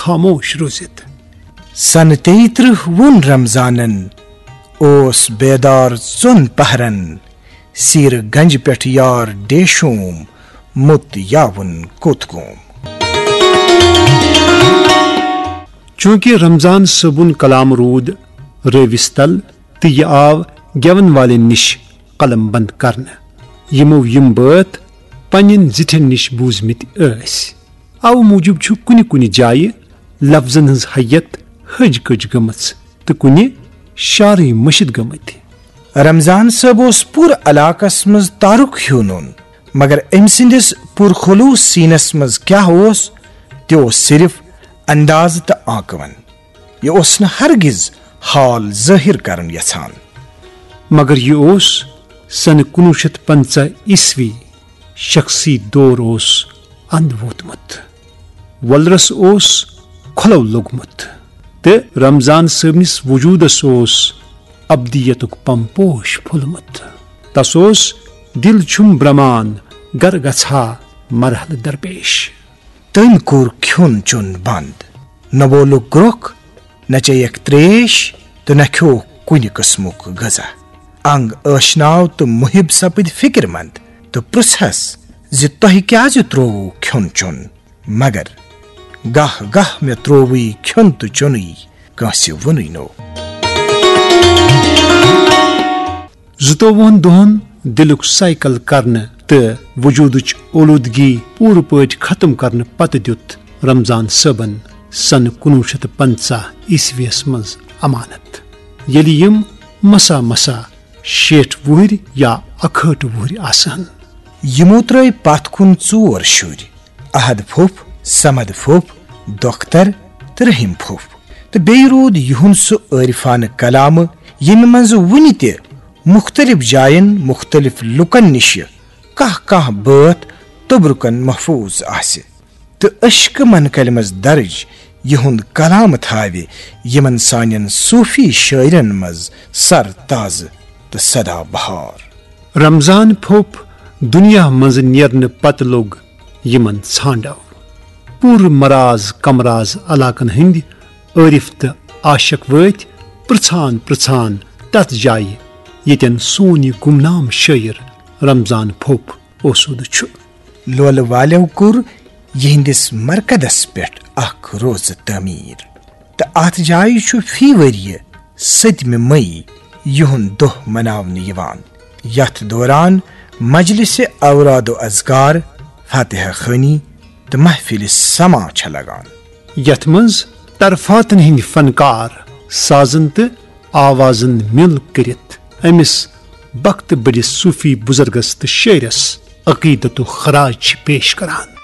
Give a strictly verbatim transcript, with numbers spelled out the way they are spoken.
خاموش روٗزِتھ۔ سنہٕ تیٚیہِ ترٕٛہ ووٚن رمضانن، اوس بیدار ژۄن پہرن، سیرٕ گنجہِ پٮ۪ٹھ یار ڈیشوم، مُت یاوُن کوٚت گوم۔ چوٗنٛکہِ رمضان صٲبُن کلام روٗد رٲوِس تل تہٕ یہِ آو گٮ۪ون والٮ۪ن نِش قلم بند کرنہٕ، یِمو یِم بٲتھ پننٮ۪ن زِٹھٮ۪ن نِش بوٗزمٕتۍ ٲسۍ۔ اوٕ موٗجوٗب چھُ کُنہِ کُنہِ جایہِ لفظن ہٕنٛز ہیئت ۂج کٔج گٔمٕژ تہٕ کُنہِ شعرٕے مٔشِتھ گٔمٕتۍ۔ رمضان صٲب اوس پوٗرٕ علاقس منٛز تارُک ہیوٗ نوٚن، مگر أمۍ سٕنٛدِس پُرخلوٗص سیٖنس منٛز کیٛاہ اوس، تہِ اوس صرف اندازٕ تہٕ آنکون۔ یہِ اوس نہٕ ہرگز حال ظٲہِر کرُن یژھان۔ مگر یہِ اوس سنہٕ کُنوُہ شیٚتھ پنٛژاہ عیسوی، شخصی دور اوس اند ووتمُت۔ وۄلرس اوس کھۄلو لوٚگمُت تہٕ رمضان صٲبنِس وجوٗدس اوس ابدیتُک پمپوش پھوٚلمُت۔ تس اوس دِل چھُم برمان گر گژھا مرحلہٕ درپیش۔ تٔمۍ کوٚر کھیوٚن چیوٚن بنٛد۔ نہ وولُکھ گرٛۄکھ، نہ چیٚیَکھ ترٛیش تہٕ نہ کھیوٚوکھ کُنہِ قٕسمُک غذا۔ انگ ٲشناو تہٕ محب سپٕدۍ فکر مند تہٕ پرٛژھس زِ تۄہہِ کیازِ ترووُو کھیوٚن چیوٚن؟ مگر گاہ گاہ مےٚ ترووُے کھیوٚن تہٕ چیوٚنُے، کٲنٛسہِ ووٚنُے نہٕ۔ زٕتووُہن دۄہن دِلُک سایکل کرنہٕ تہٕ وجوٗدٕچ اولوٗدگی پوٗرٕ پٲٹھۍ ختم کرنہٕ پتہٕ دیُت رمضان صٲبن سنہٕ کُنوُہ شیٚتھ پنٛژاہ عیسویس منٛز امانت، ییٚلہِ یِم مسا مسا شیٹھ وُہٕرۍ یا اکہٲٹھ وُہٕرۍ آسہٕ ہن۔ یِمو ترٲوۍ پتھ کُن ژور شُرۍ، احد پھوٚپھ، صمد پھوٚپھ، دۄختر تہٕ رحیم پھوٚپھ۔ تہٕ بیٚیہِ روٗد یِہُنٛد سُہ عٲرفانہٕ کلامہٕ، ییٚمہِ منٛزٕ وُنہِ تہِ مُختٔلِف جاین مُختٔلِف لُکن نِشہِ کانٛہہ کانٛہہ بٲتھ توٚبرُکن محفوٗظ آسہِ۔ تہٕ عشقہٕ منقلہِ منٛز درج یِہُنٛد کلام تھاوِ یِمن سانٮ۪ن صوٗفی شٲعرن منٛز سر تازٕ تہٕ سدا بہار۔ رمضان پھوٚپھ دُنیا منٛزٕ نیرنہٕ پتہٕ لوٚگ یِمن ژھانٛڈو۔ پوٗرٕ مراز کمراز علاقن ہٕنٛدۍ عٲرف تہٕ عاشق وٲتۍ پرٛژھان پرٛژھان تتھ جایہِ، ییٚتٮ۪ن سون یہِ گمنام شٲعر رمضان پھوٚپھ اوسوٗدٕ چھُ۔ لولہٕ والٮ۪و کوٚر یِہنٛدِس مرکزس پٮ۪ٹھ اکھ روزٕ تعمیٖر، تہٕ اتھ جایہِ چھُ فی ؤرِیہِ سٔتمہِ مئی یِہُنٛد دۄہ مناونہٕ یِوان، یتھ دوران مجلسِ اوراد و اذکار، فاتحہ خوانی تہٕ محفلِ سماع چھےٚ لگان۔ یتھ منٛز طرفاتن ہٕنٛدۍ فنکار سازن تہٕ آوازن مِل کٔرِتھ أمِس بختہٕ بٔڑِس صوٗفی بُزرگس تہٕ شٲعرس عقیدت و خراج چھِ پیش کران۔